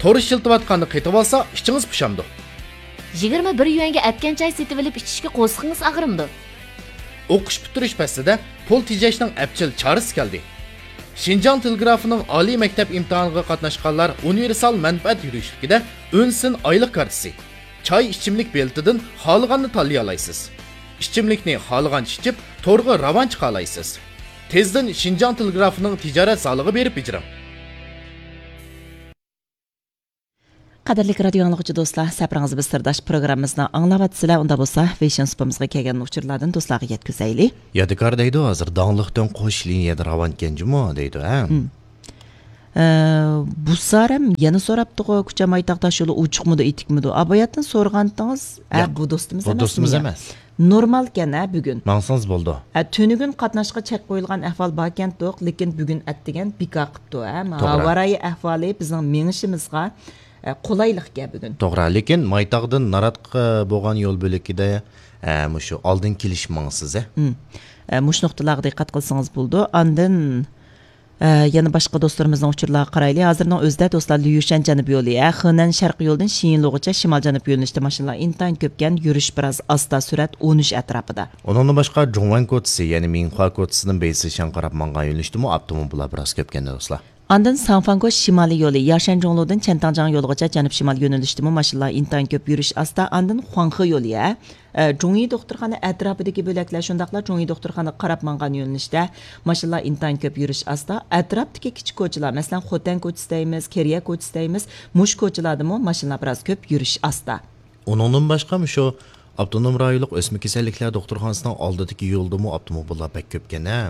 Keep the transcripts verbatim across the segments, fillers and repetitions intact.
تور ئىشلىتىۋاتقاندا قېتىۋالسا، ئىچىڭىز پۇشامدۇ؟ يىگىرمە بىر يۈەنگە ئەتكەن چاي سېتىۋېلىپ ئىچىشكە قورسىقىڭىز ئاغرىمدۇ؟ ئوقۇش پۈتتۈرۈش پەسلىدە پۇل تېجەشنىڭ ئەپچىل چارىسى كەلدى. شىنجاڭ تېلېگرافىنىڭ ئالىي مەكتەپ ئىمتىھانىغا قاتناشقانلار ئۇنىۋېرسال مەنپەئەت يۈرۈشلۈكىدە ئۈن سىن ئايلىق كارتىسى، چاي ئىچىملىك بېلىتىدىن خالىغاننى تاللىيالايسىز. ئىچىملىكنى خالىغانچە ئىچىپ، تورغا راۋان چىقالايسىز. تېزدىن شىنجاڭ تېلېگرافىنىڭ تىجارەت زالىغا بېرىپ بېجىرىڭ. قەدىرلىك رادىيو ئاڭلىغۇچى دوستلار، سەپىرىڭىز بىز سىرداش پروگراممىمىزنى ئاڭلاۋاتىسىلەر. ئۇندا بولسا، ۋېيشىن سۇپىمىزغا كەلگەن ئۇچۇرلاردىن دوستلارغا يەتكۈزەيلى. يادىكار دەيدۇ، ھازىر داڭلىق دۆڭ قوش لىنىيەدە راۋانكەن جۇمۇ دەيدۇ، ھە؟ ھە. ئە، بۇ سارەم يەنە سوراپتىغۇ، كۇچا مايتاغ تاش يولى ئوچۇقمىدۇ، ئېتىكمىدۇ؟ ئا، باياتىن سورىغانتىڭىز، ئە، ياق، بۇ دوستىمىز بۇ ئەمەسمۇ دوستىمىز يا؟ ئەمەس. نورمالكەن، ھە، بۈگۈن. ماڭسىڭىز بولىدۇ. ھە، تۈنۈگۈن قاتناشقا چەك قويۇلغان ئەھۋال باركەنتۇق، لېكىن بۈگۈن ئەتىگەن بىكار قىپتۇ، ھە، توغرا. ھاۋا رايى ئەھۋالى بىزنىڭ مېڭىشىمىزغا، ھە، قولايلىقكەن بۈگۈن. توغرا، لېكىن مايتاغدىن ناراتقا بولغان يول بۆلىكىدە، ھە، مۇشۇ ئالدىن كېلىش ماڭىسىز، ھە؟ ھىم. ھە، مۇشۇ نۇقتىلارغا دىققەت قىلسىڭىز بولىدۇ. ئاندىن، ئە، يەنە باشقا دوستلىرىمىزنىڭ ئۇچۇرلارغا قارايلى. ھازىرنىڭ ئۆزىدە دوستلار، ليۇشەن جەنۇبىي يولى، ھە، خېنەن شەرقىي يولىدىن شىيىنلۇغىچە شىمال جەنۇب يۆنىلىشتە ماشىنىلار ئىنتايىن كۆپكەن، يۈرۈش بىراز ئاستا، سۈرئەت ئون ئۈچ ئەتراپىدا. ئۇنىڭدىن باشقا، جۇڭۋەن كوچىسى، يەنى مىڭخۇا كوچىسىدىن بېيسىشەن قاراپ ماڭغان يۆنىلىشتىمۇ ئاپتوموبىللار بىراز كۆپكەن، دوستلار. ئاندىن ساڭفاڭگو شىمالىي يولى، ياشەن جۇڭلۇدىن چەنتاڭجياڭ يولىغىچە جەنۇب شىمال يۆنىلىشتىمۇ ماشىنىلار ئىنتايىن كۆپ، يۈرۈش ئاستا. ئاندىن خۇاڭخې يولى، ھە، ئە، جۇڭيى دوختۇرخانا ئەتراپىدىكى بۆلەكلەر، شۇنداقلا جۇڭيى دوختۇرخانىغا قاراپ ماڭغان يۆنىلىشتە ماشىنىلار ئىنتايىن كۆپ، يۈرۈش ئاستا. ئەتراپتىكى كىچىك كوچىلار، مەسىلەن، خوتەن كوچىسى دەيمىز، كېرىيە كوچىسى دەيمىز، مۇشۇ كوچىلاردىمۇ ماشىنىلار بىراز كۆپ، يۈرۈش ئاستا. ئۇنىڭدىن باشقا، مۇشۇ ئاپتونوم رايونلۇق ئۆسمە كېسەللىكلەر دوختۇرخانىسىنىڭ ئالدىدىكى يولدىمۇ ئاپتوموبىللار بەك كۆپكەن، ھە؟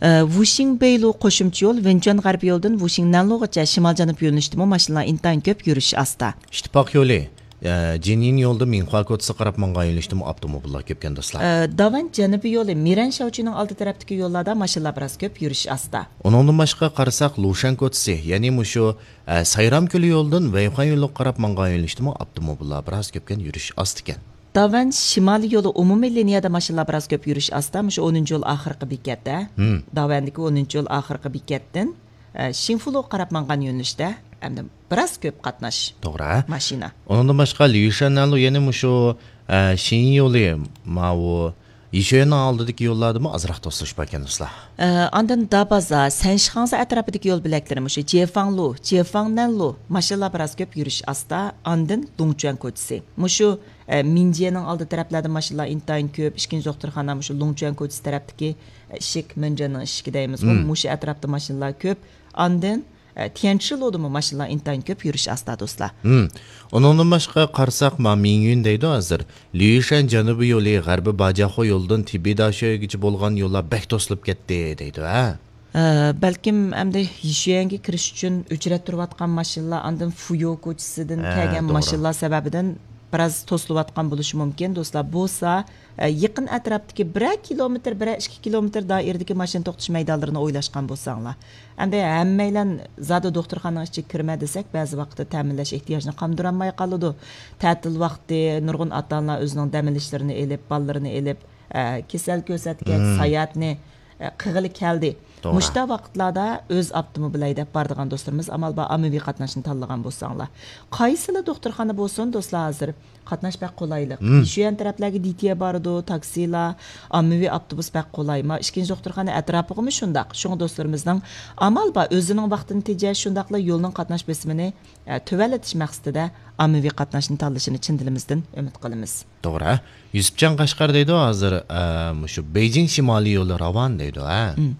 ئە، ۋۇشىڭ بېيلۇ قوشۇمچە يول، ۋېنچۈەن غەربىي يولىدىن ۋۇشىڭ نەنلۇغىچە شىمال جەنۇب يۆنىلىشتىمۇ ماشىنىلار ئىنتايىن كۆپ، يۈرۈش ئاستا. ئىتتىپاق يولى، ئە، جىنيىن يولىدا مىڭخۇا كوچىسىغا قاراپ ماڭغان يۆنىلىشتىمۇ ئاپتوموبىللار كۆپكەن، دوستلار. ئە، داۋەن جەنۇبىي يولى، مىرەن شياۋچۈنىڭ ئالدى تەرەپتىكى يوللاردا ماشىنىلار بىراز كۆپ، يۈرۈش ئاستا. ئۇنىڭدىن باشقا قارىساق، لۇشەن كوچىسى، يەنى مۇشۇ، ئە، سايرام كۆلى يولىدىن ۋەيخۇەن يولىغا قاراپ ماڭغان يۆنىلىشتىمۇ ئاپتوموبىللار بىراز كۆپكەن، يۈرۈش ئاستىكەن. داۋەن شىمالىي يولى ئومۇمىي لىنىيەدە ماشىنىلار بىراز كۆپ، يۈرۈش ئاستا. مۇشۇ ئونىنچى يول ئاخىرقى بېكەت، ھە. ھىم. داۋەندىكى ئونىنچى يول ئاخىرقى بېكەتتىن، ئە، شىنفۇلۇغا قاراپ ماڭغان يۆنىلىشتە ئەمدى بىراز كۆپ قاتناش. توغرا. ماشىنا. ئۇنىڭدىن باشقا، ليۇشەن نەنلۇ يەنە مۇشۇ، ئە، شىنيىن يولى، ماۋۇ يىشۆيەننىڭ ئالدىدىكى يوللاردىمۇ ئازراق توسۇلۇش باركەن، دوستلار. ئە، ئاندىن دابازا، سەنشىخاڭزا ئەتراپىدىكى يول بۆلەكلىرى مۇشۇ جيېفاڭلۇ، جيېفاڭنەنلۇ ماشىنىلار بىراز كۆپ، يۈرۈش ئاستا. ئاندىن لۇڭچۈەن كوچىسى. مۇشۇ، ئە، مىنجيېنىڭ ئالدى تەرەپلەردە ماشىنىلار ئىنتايىن كۆپ. ئىككىنچى دوختۇرخانا مۇشۇ لۇڭچۈەن كوچىسى تەرەپتىكى، ئە، ئىشىك، مېنجيېننىڭ ئىشىكى دەيمىزغۇ، ھىم. مۇشۇ ئەتراپتا ماشىنىلار كۆپ. ئاندىن، ئە، تيەنشىلۇدىمۇ ماشىنىلار ئىنتايىن كۆپ، يۈرۈش ئاستا، دوستلار. ھىم. ئۇنىڭدىن باشقا قارىساق، ما مىڭيۈن دەيدۇ ھازىر. ليۇشەن جەنۇبىي يولى، غەربىي باجياخۇ يولىدىن تىبىداشۆگىچە بولغان يوللار بەك توسۇلۇپ كەتتى دەيدۇ، ھە؟ ئە، بەلكىم ئەمدى يىشۈەنگە كىرىش ئۈچۈن ئۆچرەت تۇرۇۋاتقان ماشىنىلار، ئاندىن فۇيو كوچىسىدىن ھە، كەلگەن توغرا. ماشىنىلار سەۋەبىدىن بىراز توسۇلۇۋاتقان بولۇشى مۇمكىن، دوستلار. بولسا، ئە، يېقىن ئەتراپتىكى بىرەر كىلومېتىر، بىرەر ئىككى كىلومېتىر دائىرىدىكى ماشىنا توختىتىش مەيدانلىرىنى ئويلاشقان بولساڭلار. ئەمدى ھەممەيلەن زادى دوختۇرخانىنىڭ ئىچىگە كىرمە دېسەك، بەزى ۋاقىتتا تەمىنلەش ئېھتىياجىنى قاندۇرالماي قالىدۇ. تەتىل ۋاقتى نۇرغۇن ئاتا-ئانىلار ئۆزىنىڭ دەم ئېلىشلىرىنى ئېلىپ، بالىلىرىنى ئېلىپ، ئە، كېسەل كۆرسەتكەچ، مم. ساياھەتنى، ئە، قىلغىلى كەلدى. توغرا. مۇشۇنداق ۋاقىتلاردا ئۆز ئاپتوموبىل ھەيدەپ بارىدىغان دوستلىرىمىز ئامال بار ئاممىۋى قاتناشنى تاللىغان بولساڭلار. قايسىلا دوختۇرخانا بولسۇن، دوستلار، ھازىر قاتناش بەك قولايلىق. مم. يىشۈەن تەرەپلەرگە دىتيە بارىدۇ، تاكسىلار، ئاممىۋى ئاپتوبۇس بەك قولاي. ما ئىككىنچى دوختۇرخانا ئەتراپىغىمۇ شۇنداق. شۇڭا دوستلىرىمىزنىڭ ئامال بار ئۆزىنىڭ ۋاقتىنى تېجەش، شۇنداقلا يولنىڭ قاتناش بېسىمىنى ئە، تۆۋەنلىتىش مەقسىتىدە ئاممىۋى قاتناشنى تاللىشىنى چىن دىلىمىزدىن ئۈمىد قىلىمىز. توغرا. يۈسۈپجان قەشقەر دەيدۇ ھازىر، ئە، مۇشۇ بېيجىڭ شىمالىي يولى راۋان دەيدۇ، ھە؟ مم.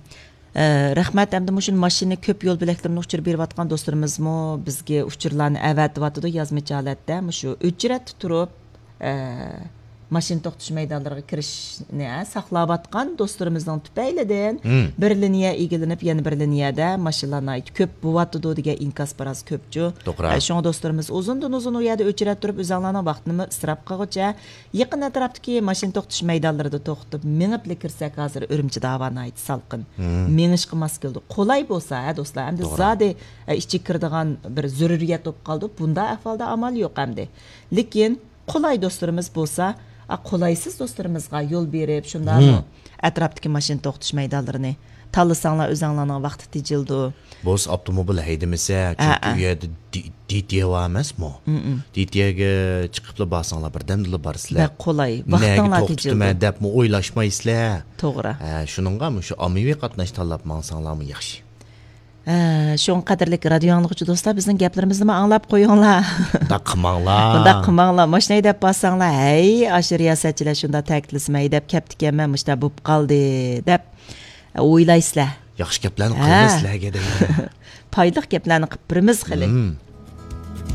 ئە، رەھمەت، ئەمدى مۇشۇ ماشىنا كۆپ يول بۆلەكلىرىنى ئۇچۇر بېرىۋاتقان دوستلىرىمىزمۇ بىزگە ئۇچۇرلارنى ئەۋەتىۋاتىدۇ يازمىچە ھالەتتە. مۇشۇ ئۆچرەتتە تۇرۇپ، ئە، ماشىنا توختىتىش مەيدانلىرىغا كىرىشنى، ھە، ساقلاۋاتقان دوستلىرىمىزنىڭ تۈپەيلىدىن مم. بىر لىنىيە ئىگىلىنىپ، يەنە بىر لىنىيەدە ماشىنىلار ناھايىتى كۆپ بوۋاتىدۇ دېگەن ئىنكاس بىراز كۆپچۇ. توغرا. ئە، شۇڭا دوستلىرىمىز ئۇزۇندىن ئۇزۇن ئۇ يەردە ئۆچرەت تۇرۇپ، ئۆزۈڭلارنىڭ ۋاقتىنىمۇ ئىسراپ قىلغۇچە، يېقىن ئەتراپتىكى ماشىنا توختىتىش مەيدانلىرىدا توختىتىپ، مېڭىپلا كىرسەك، ھازىر ئۈرۈمچىدە ھاۋا ناھايىتى سالقىن. مم. مېڭىشقا ماس كېلىدۇ. قولاي بولسا، ھە، دوستلار، ئەمدى توغرا. زادى، ئە، ئىچىگە كىرىدىغان بىر زۆرۈرىيەت بولۇپ قالدى. بۇنداق ئەھۋالدا ئامال يوق ئەمدى. لېكىن، قولاي دوستلىرىمىز بولسا، ئا، قولايسىز دوستلىرىمىزغا يول بېرىپ، شۇنداقمۇ مم. ئەتراپتىكى ماشىنا توختىتىش مەيدانلىرىنى تاللىساڭلار، ئۆزۈڭلارنىڭ ۋاقتى تېجىلىدۇ. بولسا ئاپتوموبىل ھەيدىمىسە، ئە، چۈنكى ئە. ئۇ يەردە دى-، دىتيە بار ئەمەسمۇ؟ دىتيەگە چىقىپلا بارساڭلار، بىردەمدىلا بارىسىلەر. بەك قولاي، ۋاقتىڭلار تېجىلىدۇ. نەگە توختىتىمەن دەپمۇ ئويلاشمايسىلەر. توغرا. ھە، شۇنىڭغا مۇشۇ ئاممىۋى قاتناش تاللاپ ماڭساڭلارمۇ ياخشى. ھە، شۇڭا قەدىرلىك رادىيو ئاڭلىغۇچى دوستلار، بىزنىڭ گەپلىرىمىزنىمۇ ئاڭلاپ قويۇڭلار. مۇنداق قىلماڭلار. مۇنداق قىلماڭلار. ماشىنا ھەيدەپ بارساڭلار، ھەي، ئاشۇ رىياسەتچىلەر شۇنداق تەكىتلىسىمۇ ھەيدەپ كەپتىكەنمەن، مۇشۇنداق بوپ قالدى دەپ ئويلايسىلەر. ياخشى گەپلەرنى قىلىمىز سىلەرگە دەيمەن. پايدىلىق گەپلەرنى قىلىپ بېرىمىز خېلى.